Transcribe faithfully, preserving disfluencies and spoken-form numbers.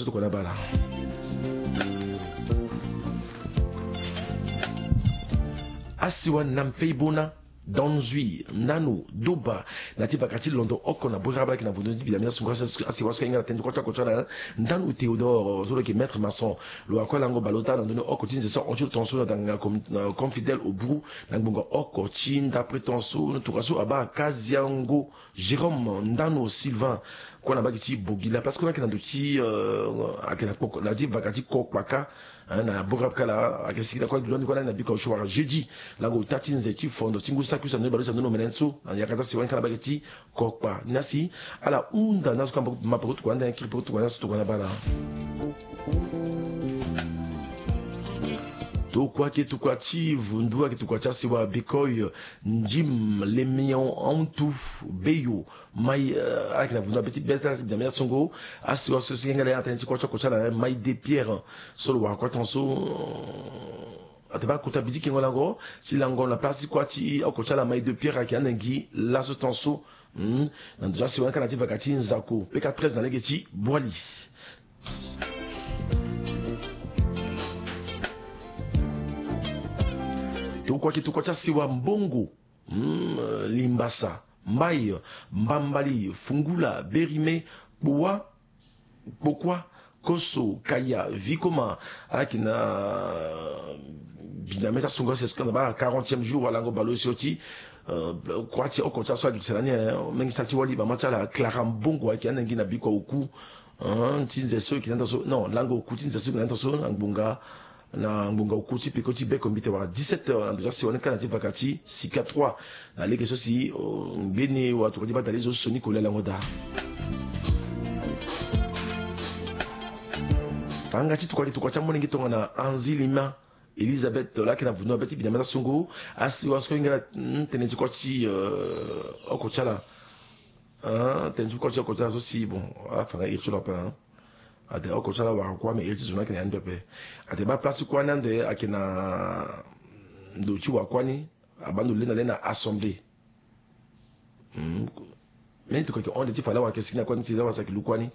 Tokona bala. Asiwa na mpei bona, danzui, nanu, doba, na ti vaka ti londo oko na bwera balaki na vondo ti bidamia sunga. Asiwa so ka hinga na tene ti kota kota na nanu Théodore, so lo yeke maître maçon. Lo akua lango baleota na ndoni oko ti nze so ahon ti lo tonso na tanga confidèle au bout na ngbonga oko ti ndapre tonso. Tokua so abaa Kaziango Jérôme, ndanu Sylvain, kua na baki ti Bogila, parce que na yeke na ndo ti, euh, ayeke na kpoko na ti vaka ti kokpaka, hein, na bora kala ayeke sigi na kua na biko na biko wara jeudi lango ota ti nze ti fondo ti ngu saki so andoni baleuse andoni omene so na yakata si wani kala baki ti kokpa ni asi. Ala hunda ni aso kamba mapoko tokua ande kiri poko tokua ni aso tokua na bala. Tokua ke tokua ti vundu ayeke tokua ti asiwa bikoi. Ndim lemion antu beyo mai, eh, ala yeke na vundu abeti beta ti bidamia songo. Asiwa so si yengele ya na tene ti kua ti oko ti ala, eh, mai de pierre so lo wara kua tonso. Ate baa kota bidi kengo lango ti lango na place ti kua ti oko ti ala mai de pierre ayeke ande ngi laso tonso. Hmm. Na ndo ti asiwa ni ka na ti vaka ti nzako peka treize na lege ti bwali. Tokua ke tokua ti asiwa mbongo. Hmm, eh, limbasa, mbai, mbambali, fungula, berime, kpoa, kpokua, koso, kaya, vikoma. Ala yeke na bidamia ti asongo asi na baa quarantième jour wala lango baleuse oti. Eh, kua ti oko ti aso agikisa na ni, eh, mingi sara ti wali bama ti ala Clara Mbongo ayeke ande ngi na biko oku. Eh, ti nze so yeke na ndo so non lango oku ti nze so yeke na ndo so na ngbonga na ngbonga oku ti peko ti beko mbite wala dix-sept heures na ndo ti asiwa ni ka na ti vaka ti sika trois. Na lege so si, oh, ngbeni watokua ti bata lezo so ni kolia lango daa. Tanga ti tokua ti tokua ti amolenge tongana Anzi Lima Elisabeth laa ayeke na vundu na be ti bidamia ti asongo. Asiwa so hinga na, mm, tene ti kua ti, euh, oko ti ala. Ah, tene ti kua ti oko ti ala so si bon ala fa nga iri ti lo ape, hein. Ate oko ti ala wara kua me iri ti zo ni ayeke na ya ni pepe. Ate baa place ti kua ni ande ayeke na ndo ti wakua ni. Abaa ndo lenda lenda assemblée. Hmm. Meni tokua yeke hon nde ti fa lawa ayeke sigi na kua ni ti lawa si ayeke lu kua ni.